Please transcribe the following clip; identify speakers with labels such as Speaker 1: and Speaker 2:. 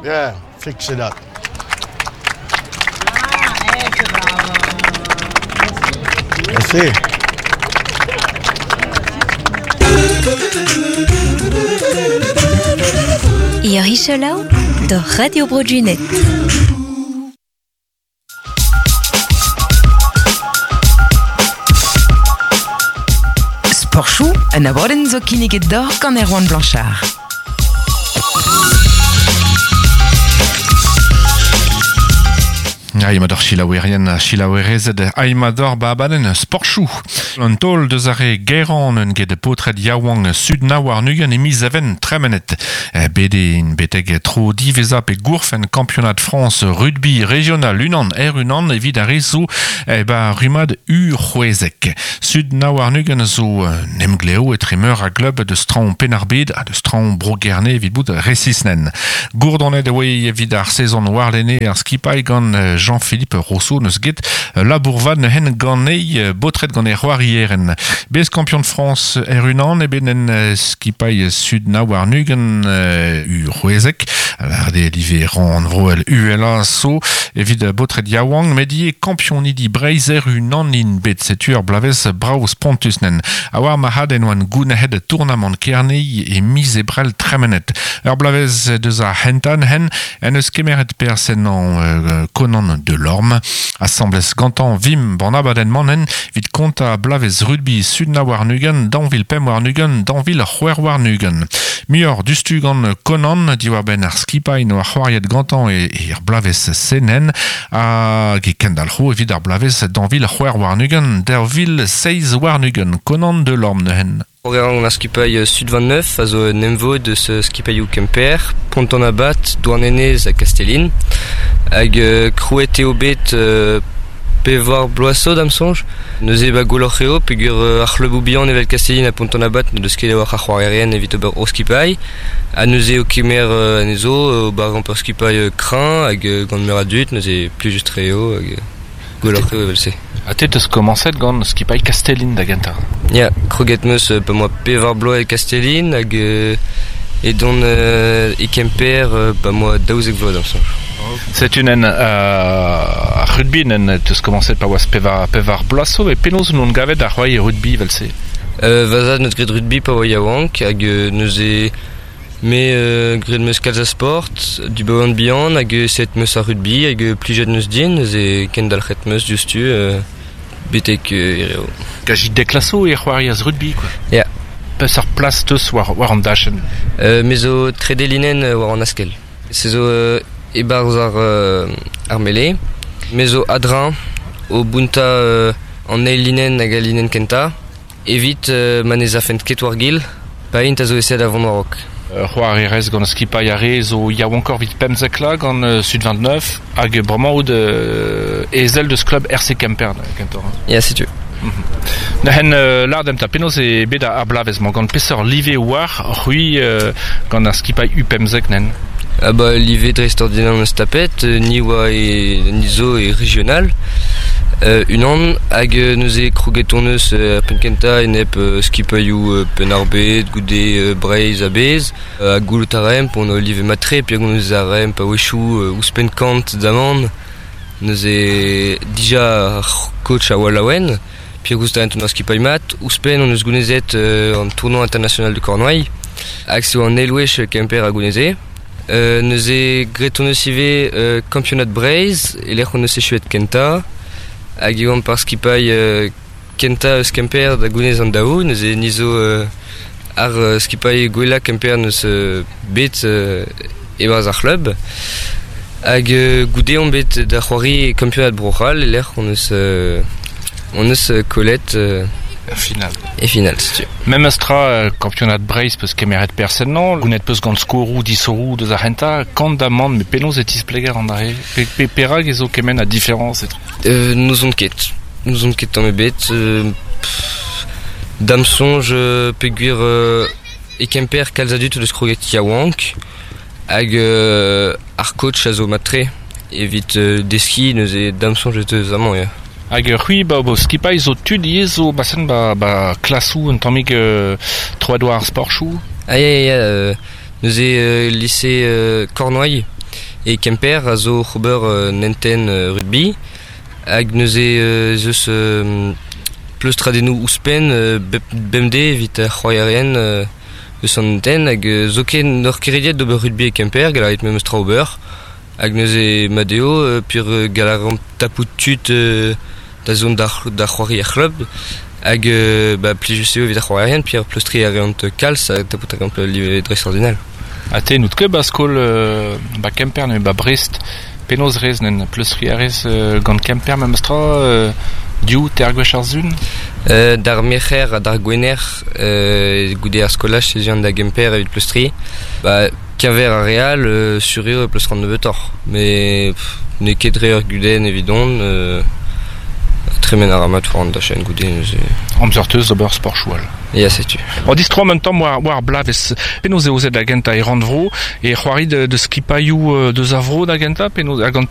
Speaker 1: Yeah, fix it up. Merci.
Speaker 2: Iori selaou do Radio Bro Gwened.
Speaker 3: Sportchoù, un abadenn zo kinniget deoc'h gant Erwan Blanchard.
Speaker 4: Aimador selaouerien ha selaouerezed, aimador ba abadenn sportchoù. An taol deus ar re gaerañ un get paotred yaouank sud nav warn-ugent e miz Even tremenet. Bet int betek tro diwezhañ pe gourfenn kampionad Frañs rugby regional unan er unan evit ar re zo ba rummad U16. Sud nav warn-ugent zo un emglev etre meur a glub deus traoñ Penn-ar-Bed ha deus traoñ Bro-Gerne evit bout resisnen. Gourdonet e oe evit ar sezon warlene ar skipailh gant Jean-Philippe Rousseau neus get labour vat neuhen ganei baotred gant e c'hoarieren. Bez kampion France er unan e bet en skipailh sud nav warn-ugent u c'hwezek. Lâret eo live rannvroel uhelañ so evit baotred yaouank met ivez kampionidi Breizh er unan int bet. Setu ur bloavezh brav spontus nen. A war marc'had en oant gounezet tournamant Kerne e miz Ebrel tremenet. Ur bloavezh deus ar c'hentañ hen en deus kemeret perzh ennañ Conan Delorme. Asambles gantañ vimp an abadenn-mañ en evit kontañ bloavezh rugby Sud nav warn-ugent, 2025, 2026. Muioc'h diouzhtu gant Conan diwar-benn ar skipailh 'noa c'hoariet gantañ er bloavezh senen hag e kendalc'ho evit ar bloavezh 2026, 2027. Conan Delorme neuze.
Speaker 5: Programm ar skipailh Sud 29 a zo un emvod eus skipailhoù Kemper, Pont-an-Abad, Douarnenez ha Kastellin. Hag krouet eo bet pevar bloaz zo da'm soñj. Neuze ba gwelloc'h eo peogwir ar c'hluboù bihan evel Kastellin ha Pont-an-Abad n'o deus ket a-walc'h a c'hoarierien evit ober o skipailh. Ha neuze o kemer anezho ober gant ur skipailh kreñv hag gant meur a dud, neuze plijus-tre eo. Hag Gwelloc'h eo evel-se.
Speaker 4: Ha te 'teus komañset gant skipailh Kastellin da gentañ?
Speaker 5: Ya, kroget 'm eus pa 'moa pevar bloaz e Kastellin hag edon e Kemper pa 'moa 12 vloaz d'am soñj.
Speaker 4: Setu nen ar rugby nen 'teus komañset pa oas pevar, pevar bloaz zo met penaos on gavet ar c'hoari rugby evel-se?
Speaker 5: Va zad 'neus graet rugby pa oa yaouank hag neuze Me graet 'meus kalz a sport, du baoan bihan hag set 'meus ar rugby hag plijet 'neus din, neuze kendalc'het 'meus diouzhtu betek hiriv.
Speaker 4: Kazi dek klasoù e c'hoarias rugby quoi.
Speaker 5: Ya.
Speaker 4: Peseurt plas 'teus war, war an dachenn?
Speaker 5: Me zo trede linenn war an askell. Se zo e-barzh ar, ar mele. Me zo a-dreñv o bountañ an eil linenn hag al linenn kentañ. Evit ma ne zafent ket war-gil, pa int a zo eset da vont war-raok.
Speaker 4: C'hoarierez gant skipailh ar re zo yaouankoc'h evit 15 vloaz gant Sud 29 hag bremañ out ezel deus klub RC Kemper kentoc'h.
Speaker 5: Ya, setu.
Speaker 4: Neuzen lâr demp 'ta penaos eo bet ar bloavezh-mañ gant peseurt live oar c'hwi gant ar skipailh U15 nen?
Speaker 5: Ah bah live dreistordinal hon eus tapet, ni oa e ni zo e regional. Unan hag neuze kroget hon eus er penn-kentañ enep skipailhoù Penn-ar-Bed, goude Breizh a-bezh. Ha goulout a raemp hon live mat-tre peogwir hon eus a raemp a-wechoù ouzhpenn kant damant. Neuze dija ar coach a oa laouen peogwir ouzh hon skipailh mat. Ouzhpenn hon eus gounezet an tournoi international de Cornouailles hag se oa an eil wech Kemper a gouneze. Neuze graet hon eus ivez kampionad Breizh e-lec'h hon eus echuet kentañ hag e oamp ar skipailh kentañ eus Kemper da gounez an daou. Neuze ni zo ar skipailh gwellañ Kemper n'eus bet e-barzh ar c'hlub. Hag goude omp bet da c'hoari kampionad Bro-C'hall e-lec'h hon eus hon eus kollet
Speaker 4: Er final.
Speaker 5: E final, setu.
Speaker 4: Memes tra, kampionad Breizh peus kemeret perzh ennañ, gounet peus gant skoroù, disoroù deus ar c'hentañ, kant da mann, met penaos e tispleger an dra-se? Pe, pe, perak e zo kement a diferañs etre?
Speaker 5: N'ouzon ket. N'ouzon ket tamm ebet. Da'm soñj peogwir e Kemper kalz a dud o deus kroget yaouank hag ar coach a zo mat-tre evit deskiñ neuze da'm soñj ez eus amañ ya.
Speaker 4: Hag c'hwi ba ho skipailh zo tud ivez zo basen ba, ba klasoù un tammig troet war ar sporchoù?
Speaker 5: Ah ya ya ya neuze lise Cornouailles. E Kemper a zo c'hober nenten rugby hag neuze ez eus pleustradennoù ouzhpenn bemdez evit ar c'hoarierien eus an hentenn hag zoken n'oc'h ket rediet d'ober rugby e Kemper, gall a rit memes tra ober. Hag neuze mat eo peogwir gall a reomp tapout tud da zont da c'hoari er c'hlub hag ba plijus eo evit ar c'hoarierien peogwir pleustriñ a reont kalz ha tapout a reont live dreistordinal.
Speaker 4: Ha te n'out ket ba skol ba Kemper nemet ba Brest. Penaos rez nen pleustriñ a rez gant Kemper memes tra div teir gwech ar sizhun?
Speaker 5: D'ar Merc'her ha d'ar Gwener goude ar skolaj ez an da Gemper evit pleustriñ. Ba keñver ar re all sur eo e pleustran nebeutoc'h met n'eo ket dre ur gudenn evidon. Tremen a ra mat war an dachenn goude neuze.
Speaker 4: Amzer 'teus d'ober sportoù all.
Speaker 5: Ya, setu.
Speaker 4: O distroomp un tamm war, war bloavezh. Penaos eo aozet da gentañ e rannvro e c'hoari de skipailhoù deus ar vro da gentañ penaos hag gant